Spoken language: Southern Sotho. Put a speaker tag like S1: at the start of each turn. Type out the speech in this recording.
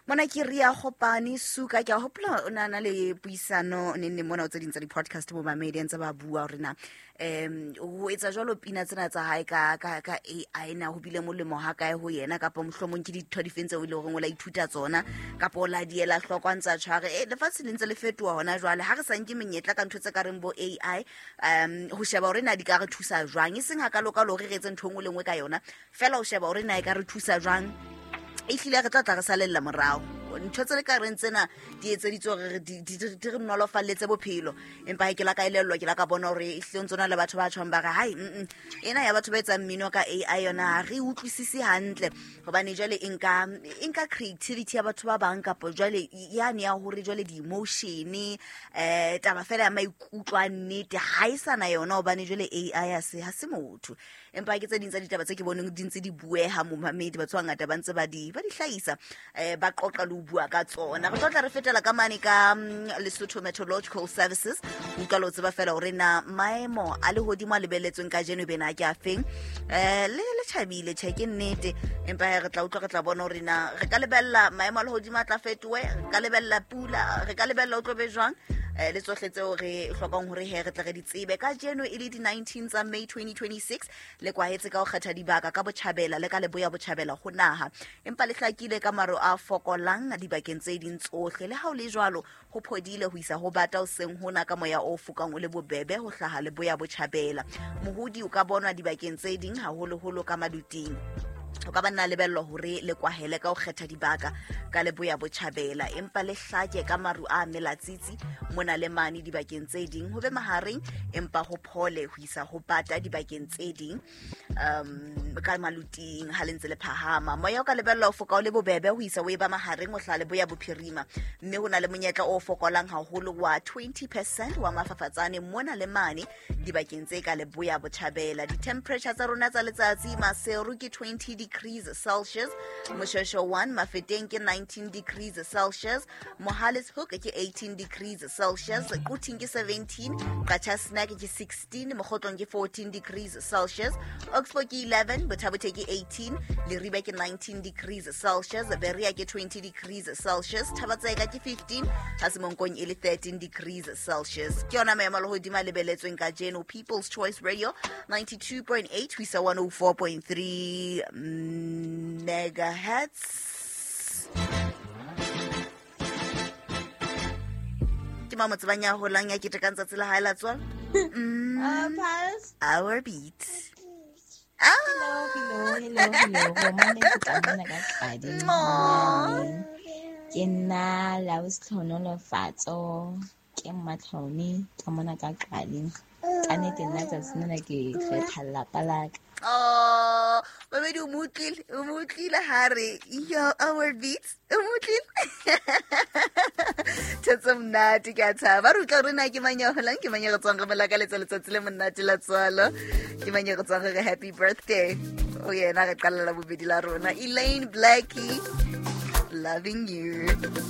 S1: Mona ke Ria Gopane Suka. Ke a hopola o na na le puisano neng neng mona o tse ding tsa di-podcast bo mamedi ntse ba bua hore na ho etsa jwalo pina tsena tsa hae ka AI na ho bile molemo ha kae ho yena, kapa mohlomong ke ditho difeng tseo e leng horeng o la ithuta tsona kapa o la di ela hloko a ntse a tshware. Lefatshe le ntse le fetoha hona jwale, ha re sa nke menyetla ka ntho tse ka reng bo AI, ho sheba hore na di ka re thusa jwang, e seng hakalo-kalo hore re etse ntho e nngwe le nngwe ka yona, fela o sheba hore na e ka re thusa jwang. Ehlile re tla tla re salella morao ntho tse le ka reng tsena di etseditswe hore di re nolofalletse bophelo, empa he ke la ka elellwa, ke la ka bona hore ehlile ntse na le batho ba tjhong ba re hai, ena ya batho ba etsang mmino ka AI yona ha re utlwisise hantle, hobane jwale e nka creativity ya batho ba bang, kapa jwale yane ya hore jwale di-emotion, taba fela ya maikutlo a nnete ha e sana yona, hobane jwale AI ha se motho. Empa ke tse ding tsa ditaba tse ke boneng di ntse di bueha, momamedi, batho ba bangata ba ntse ba di hlahisa, ba qoqa le ho bua ka tsona. Re tlo tla re fetela ka mane ka Lesotho Meteorological Services, ho utlwa le ho tseba fela hore na maemo a lehodimo a lebelletsweng kajeno e bena ke a feng. Le tjhabile, tjhe, ke nnete, empa he re tla utlwa, re tla bona hore na re ka lebella maemo a lehodimo a tla fetohe, re ka lebella pula, re ka lebella o tlo be jwang, le tsohle tseo re hlokang hore he re tle re di tsebe. Kajeno e le di-19 tsa May 2026, le kwahetse ka ho kgetha dibaka ka botjhabela le ka leboya botjhabela ho naha, empa le hlakile ka maro a fokolang dibakeng tse ding tsohle. Le ha o le jwalo, ho phodile ho isa ho bata hoseng hona ka moya o fokang o le bobebe ho hlaha leboya botjhabela. Mohodi o ka bonwa dibakeng tse ding, haholoholo ka maluting. O ka ba nna lebellwa hore le kwahele ka ho kgetha dibaka ka leboya botjhabela, empa le hlake ka maru a melatsitsi mona le mane dibakeng tse ding. Ho be mahareng, empa ho phole ho isa ho bata dibakeng tse ding ka maluting. Ha le ntse le phahama, moya o ka lebellwa ho foka o le bobebe ho isa o e ba mahareng o hlaha leboya bophirima, mme ho na le monyetla o fokolang haholo wa 20% wa mafafatsane mona le mane dibakeng tse ka leboya botjhabela. Di-temperature tsa rona tsa letsatsi: Maseru ke 20 degrees Celsius, Moshweshwe 1, Mafeteng ke 19 degrees Celsius, Mohale's Hoek ke 18 degrees Celsius, Quthing ke 17, Qacha's Nek ke 16, Mokhotlong ke 14 degrees Celsius, Oxford ke 11, Botha-Bothe ke 18, Leribe ke 19 degrees Celsius, Berea ke 20 degrees Celsius, Thaba-Tseka ke 15, ha Semonkong e le 13 degrees Celsius. Ke yona maemo a lehodimo a lebeletsweng kajeno. People's Choice Radio, 92.8 ho isa 104.3 megahertz. Ke ma motsebang ya holang ya ketekang tsatsi la hae la tswalo.
S2: Pass.
S1: Our beat.
S2: Hello, hello, hello, hello. Romane ke tla mona ka Qadi.
S1: Aw.
S2: Ke nna Laus Tlhonolofatso, ke Mmatlhone ka mona ka Qadi. Ka nnete nna tsatsi lena ke kgetha lelapa la ka.
S1: Oh, babedi, o mo utlwile, o mo utlwile ha re yo our beats, o mo utlwile thetso monate. Ke a thaba re utlwa gore na ke mang ya holang, ke mang ya re tswang re mo lakaletsa letsatsi le monate la tswalo, ke mang ya re tswang re re happy birthday o yena. Re qalela bobedi la rona, Elaine Blackie, "Loving You".